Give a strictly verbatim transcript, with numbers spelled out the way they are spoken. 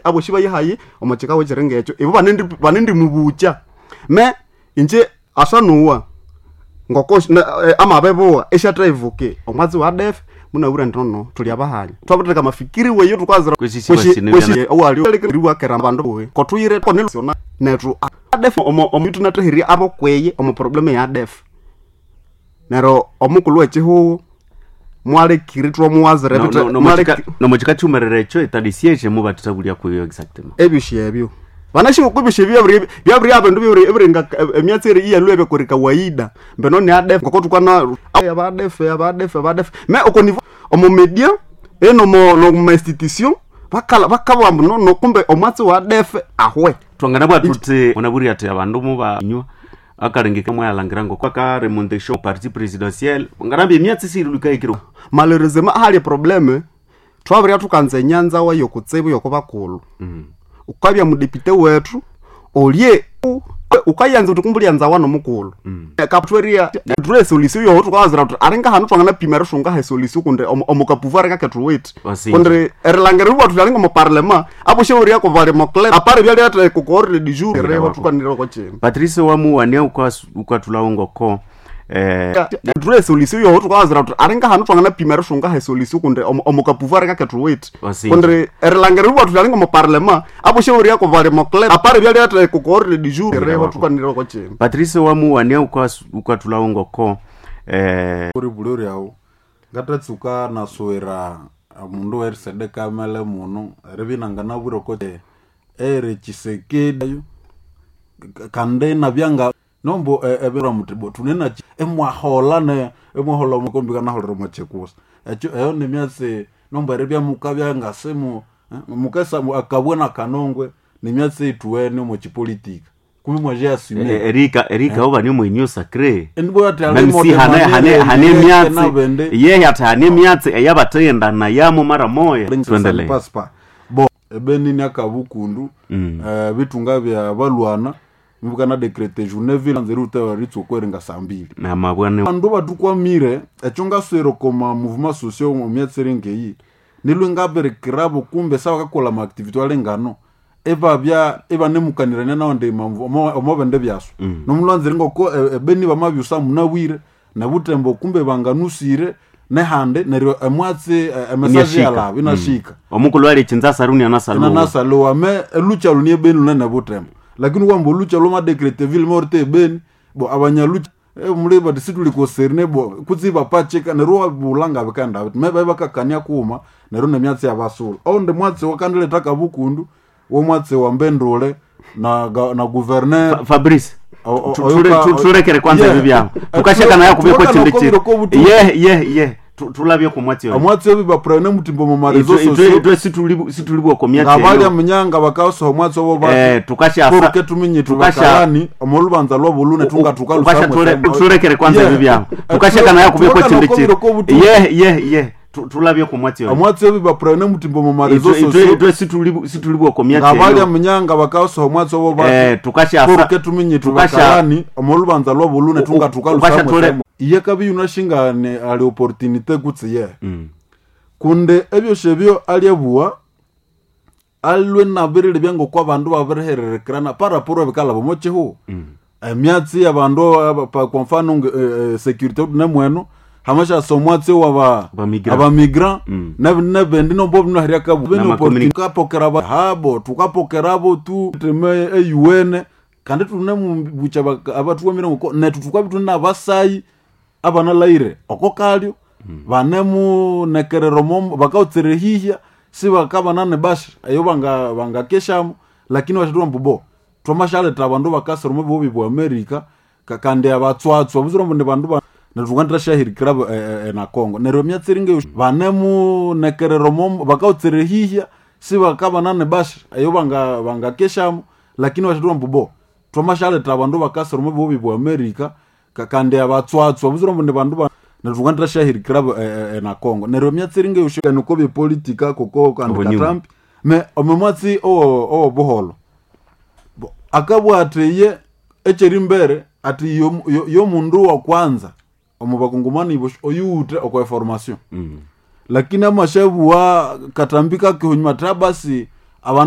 Aboshi bayihayi omo kikawo ekiringa ekyo ibo banendi- banendimubucha me inje asanuwa ngoko na- eh, amabebuwa esyathaivuke omwatsi wa def munabwire ndi nono tuli abahanya twabiritheka amafikiri weyo tukazira Kwesi sibasine byana- owaliwakera abandu buwe kotuyire konelosiona nethu adef omo omutu nathahiria abokweye omu problemu ya adef neryo omukulhu wekihugho mwalekiri twamuwazira No- ebithe- no- no mwaleki- muchika- nomuchikachumerera echo etadisieshe mubatithabulia kuyo exactement. Ebyosi ebyo vanashiko ebyosi ebyo byabiri byabiri abandu byabiri ebiringa emyatsi eri iyalwe byakori kawaida mbeno ni adef ngoko tukana abadef abadef abadef me oko nivo omo media eno mo no ma institution bakala bakabwa mbu no no kumbe omwatsi wa adef ahwe. Twanganabwa tuti munabwire ati abandu mubanywa akalengeka mwayalangira ngoko akaremontation parti présidentielle nganambia emyatsi sirilukahikiro. Malheureusement ahali probleme twabirya tukanza enyanza wayo kutsibu yoko bakulu ukabya mudepite wethu olye ukayanza uti kumbe ulyanza wano mukulu kaputweria tule solution yoho tukawazira kuti aringa hanu twanganapima erishunga he solution kundi omukapuvu aringa kethuwithe Wasinja. kundi erilangira riwa tuti aringa omuparlema aposhe kovali moclub apare byaliathe kukoorire du jour reho tukanire kochini. Patrice wamuwania ukathulawo ngoko eh, Tule solution yoho tukawazira kuti aringa hanu twanganapima erishunga he solution kundi omukapuvu aringa kethuwithe Wasinja. kundi erilangira riwa tuti aringa omuparlema aposhe kovali moclub apare byaliathe kukoorire du jour reho tukanire kochini. Patrice wamuwania ukathulawo ngoko eh, uri bulori awo ngatatsuka nasowera mundu werisedeka amele muno eribya inanganabwire oko ere Tshisekedi ayo kandi nabyanga nombo ebera muti bo tunena emwahola ne emwahola mukombi kanaholera mwachekusa ekyo eyo nemyatsi nombo eribya mukabya ngasimu mukesa akabwe na kanongwe nemyatsi ituwene omu chipolitika kumi mwaje asime. eh, erika erika oba ni mwenyu sacré. Endibo ati Même si hane hane hane myatsi yehe ati hane myatsi eyabathenda nayamo mara moya tuendelee. Paspa bo ebenini akabukundu eh, bitunga bya balwana mubukana decrete journée ville nzeri utawa ritsokweringa saa mbili. Namabwane. Bandu batukwamire ekyo ngaswere koma mouvement social omyatsiri ngeyi nilwe ngabirikirabo kumbe sabakakola maactivity alengano ebabya ebanemukanirania nawandi omobende byaso nomulwanzire ngoko e- ebeni bamabyusa munabwire nebutembo kumbe banganusire nehande neryo emwatsi e- emesaje Inashika. yalabo inashika. Omukulhu ali chinza saruni anasaluwa. Inanasalowa me elucha lunie ebeni lunene butembo lakini kwamba olucha lwamadecrete ville morte ebeni bo abanyalucha eh, muli bati situlikoserne bo kutsi bapachika neryo wabulanga bikanda biti me bakakania kuma neryo nemyatsi yabasula oundi mwatsi wakandileta kabukundu womwatsi wa mbendule na, ga- na gouverneur. Fabrice, O- o- tu- oyoka- ture- tu- turekere kwanza Yeah. ebyo byabo Eh, tukashaka naye kubeko tuwakana chindi okobiro chiri kobutu. ye ye ye Tu- tulabye ku mwatsi oyo. Omwatsi obi bapurane mutimbo mu marezo Itwe- itwe sosio itwe situli- situlibwa ku myatsi ngabalya eyo. munyanga bakasoha omwatsi obo bati Eh, tukashasa turuke tuminye tukasha tubakalani omolubanza lwabulune tunga ukasha ture- turekere kwanza ebyo byabo tukashaka naye kubeko chindi chiri ye ye ye Tu- tulabye ku mwatsi oyo. Omwatsi obi bapurane mutimbo mu marezo Itwe- itwe sosio itwe situli- situlibwa ku myatsi ngabalya eyo. munyanga bakasoha omwatsi obo bati Eh, tukashasa turuke tuminye tukasha tubakalani omolubanza lwabulune tunga ukasha ture- tukalusamwe iye kabi yunashingane ali opportunité kutsi ye kunde ebyosyo ebyo alyebuwa alwe nabirire byangoko abandu babirihererekerana paraporo ebikalaba omo kihugo emyatsi yabandu aba- pa- kwa mfano nge- eh, eh, security nemweno hamashasa omwatsi waba Abamigrant. abamigrant nebendi nombo binoheria Nama communi- kabutukapokera habo tukapokerabo tu teme eyuwene kandi tunemubucha abatuwamire ngoko netu tukabi tune abasayi abanalaire oko kalyo banemunekerera omo bakautsire hihya sibakabana nebasha eyo banga bangakeshamo lakini bashatuma mbu bo twamashaleta abandu bakasira omu bihugo bwa America ka- kandi abatswatswa buzira mbu ni bandu ba netukandira shahirikira e, e, na Congo neryo emyatsi eringa banemunekerera omo bakautsire hihya sibakabana nebasha eyo banga bangakeshamo lakini bashatuma mbu bo twamashaleta abandu bakasira omu bihugo bwa America ka- kandi abatswatswa buzira mbu ni bandu ba netukandira shahirikira e, e, na Congo neryo emyatsi eringa niko byepolitika koko kandi Obunyuma. Katrump me omumwatsi owo owo buholo Bo- akabwa ati ye ekyeri mbere ati yo- yo- yomundu wa kwanza omu bakongomani ibo oyuwuthe okwa information lakini amashabuwa katambi kakehunyuma ati abasi abandu.